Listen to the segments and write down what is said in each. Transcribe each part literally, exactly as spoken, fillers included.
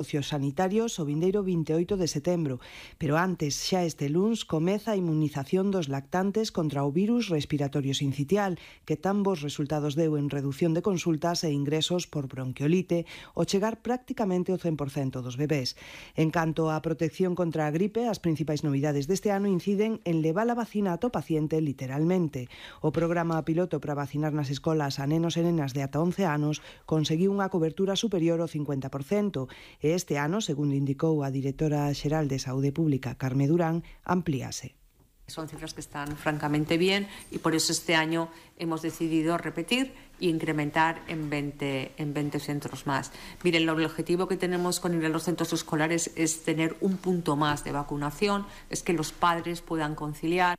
Socios sanitarios o vindeiro vinte e oito de setembro, pero antes, xa este luns, comeza a inmunización dos lactantes contra o virus respiratorio sincitial, que tan bons resultados deu en reducción de consultas e ingresos por bronquiolite, ao chegar prácticamente o cen por cento dos bebés. En canto á protección contra a gripe, as principais novidades deste ano inciden en levar a vacina a to paciente literalmente. O programa piloto para vacinar nas escolas a nenos e nenas de ata once anos conseguiu unha cobertura superior ao cincuenta por cento e este ano, segundo indicou a directora xeral de Saúde Pública, Carme Durán, amplíase. Son cifras que están francamente bien y por eso este año hemos decidido repetir e incrementar en veinte, en veinte centros más. Miren, el objetivo que tenemos con ir a los centros escolares es tener un punto más de vacunación, es que los padres puedan conciliar.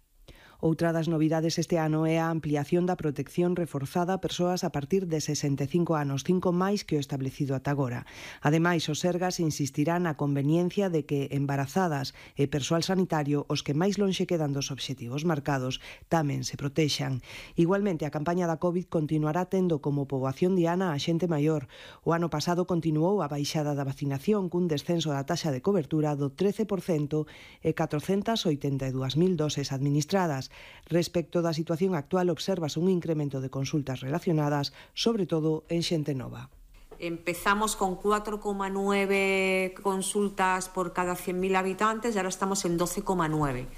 Outra das novidades este ano é a ampliación da protección reforzada a persoas a partir de sesenta e cinco anos, cinco máis que o establecido ata agora. Ademais, os Sergas insistirán na conveniencia de que embarazadas e persoal sanitario, os que máis lonxe quedan dos obxectivos marcados, tamén se protexan. Igualmente, a campaña da COVID continuará tendo como poboación diana a xente maior. O ano pasado continuou a baixada da vacinación cun descenso da taxa de cobertura do trece por cento e catrocentas oitenta e dúas mil doses administradas. Respecto da situación actual, observas un incremento de consultas relacionadas, sobre todo en xente nova. Empezamos con cuatro coma nueve consultas por cada cien mil habitantes y ahora estamos en doce coma nueve.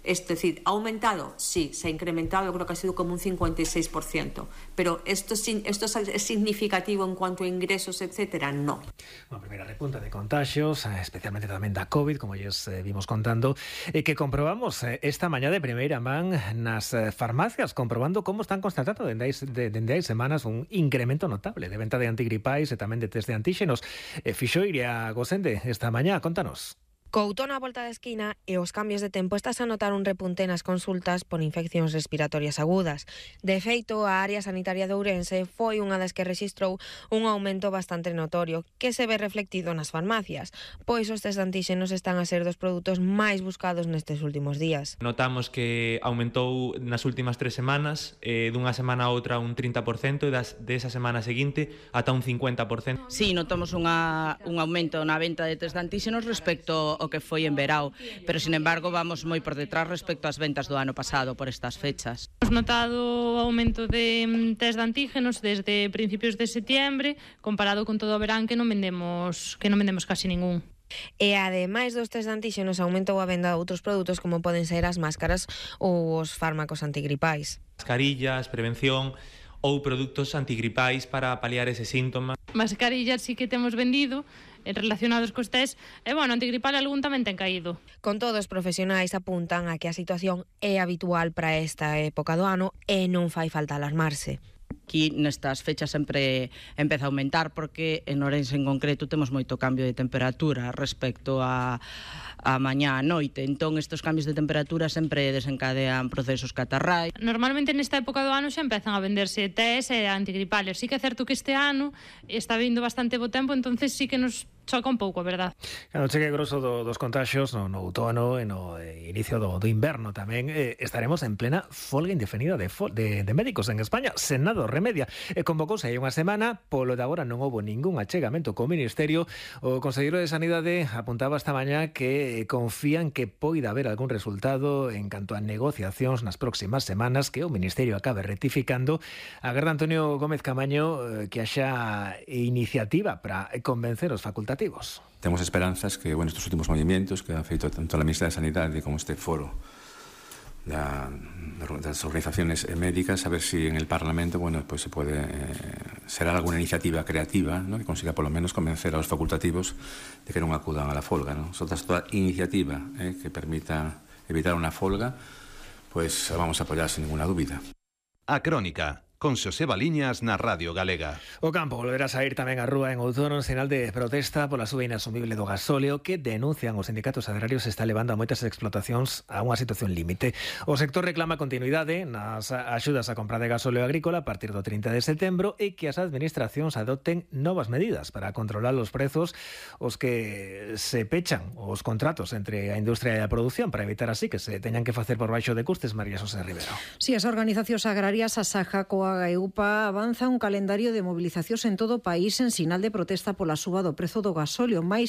Es decir, ¿ha aumentado? Sí, se ha incrementado, yo creo que ha sido como un cincuenta y seis por ciento. Pero ¿esto, esto es significativo en cuanto a ingresos, etcétera? No. Una primera repunta de contagios, especialmente tamén da COVID, como ya eh, vimos contando, eh, que comprobamos eh, esta mañá de primeira man nas eh, farmacias, comprobando como están constatando dende hai, de, dende hai semanas un incremento notable de venta de antigripais e tamén de test de antíxenos. Eh, Fixo Iria Gosende esta mañá, contanos. Co outono á volta da esquina e os cambios de tempo estás a notar un repunte nas consultas por infeccións respiratorias agudas. De feito, a área sanitaria de Ourense foi unha das que rexistrou un aumento bastante notorio que se ve reflectido nas farmacias, pois os test de antíxenos están a ser dos produtos máis buscados nestes últimos días. Notamos que aumentou nas últimas tres semanas, eh, dunha semana a outra un trinta por cento e das, desa semana seguinte ata un cincuenta por cento. Sí, notamos unha, un aumento na venta de test de antíxenos respecto o que foi en verao, pero sin embargo vamos moi por detrás respecto ás ventas do ano pasado por estas fechas. Hemos notado aumento de test de antígenos desde principios de setiembre, comparado con todo o verán que non vendemos, que non vendemos casi ningún. E ademais dos test de antíxenos aumentou a venda de outros produtos como poden ser as máscaras ou os fármacos antigripais. Mascarillas, prevención ou produtos antigripais para paliar ese síntoma. Mascarillas sí que temos vendido relacionados cos test, e, bueno, antigripal algún tamén ten caído. Con todo, os profesionais apuntan a que a situación é habitual para esta época do ano e non fai falta alarmarse. Aquí nestas fechas sempre empeza a aumentar porque en Ourense en concreto temos moito cambio de temperatura respecto a, a mañá a noite, entón estes cambios de temperatura sempre desencadean procesos catarrais. Normalmente nesta época do ano xa empezan a venderse test e antigripales. Sí que é certo que este ano está vindo bastante bo tempo, entonces sí que nos choca un pouco, a verdad. Cando chegue grosso do, dos contagios no, no outono e no eh, inicio do, do inverno tamén eh, estaremos en plena folga indefinida de, fol, de, de médicos en España. Senado remedia. Eh, convocouse aí unha semana, polo de agora non houbo ningún achegamento co Ministerio. O Conselleiro de Sanidade apuntaba esta mañá que confían que poida haber algún resultado en canto a negociacións nas próximas semanas que o Ministerio acabe rectificando. Agarda Antonio Gómez Camaño eh, que haxa iniciativa para convencer os facultativos. Tenemos esperanzas que, bueno, estos últimos movimientos que ha feito tanto la Ministra de Sanidade como este foro de las organizaciones médicas, a ver si en el Parlamento, bueno, pues se puede eh, ser alguna iniciativa creativa, ¿no?, que consiga por lo menos convencer a los facultativos de que no acudan a la folga, ¿no? Nosotras, toda iniciativa eh, que permita evitar una folga, pues vamos a apoyar sin ninguna duda. A Crónica, con Xosé Baliñas na Radio Galega. O campo volverá a sair tamén á rúa en outono en sinal de protesta pola suba inasumible do gasóleo que denuncian os sindicatos agrarios está levando a moitas explotacións a unha situación límite. O sector reclama continuidade nas axudas a compra de gasóleo agrícola a partir do trinta de setembro e que as administracións adopten novas medidas para controlar os prezos os que se pechan os contratos entre a industria e a produción para evitar así que se teñan que facer por baixo de custes. María Xosé Rivero. Si, as organizacións agrarias, a Saja, Coa e U P A avanza un calendario de movilizacións en todo o país en sinal de protesta pola suba do prezo do gasóleo, máis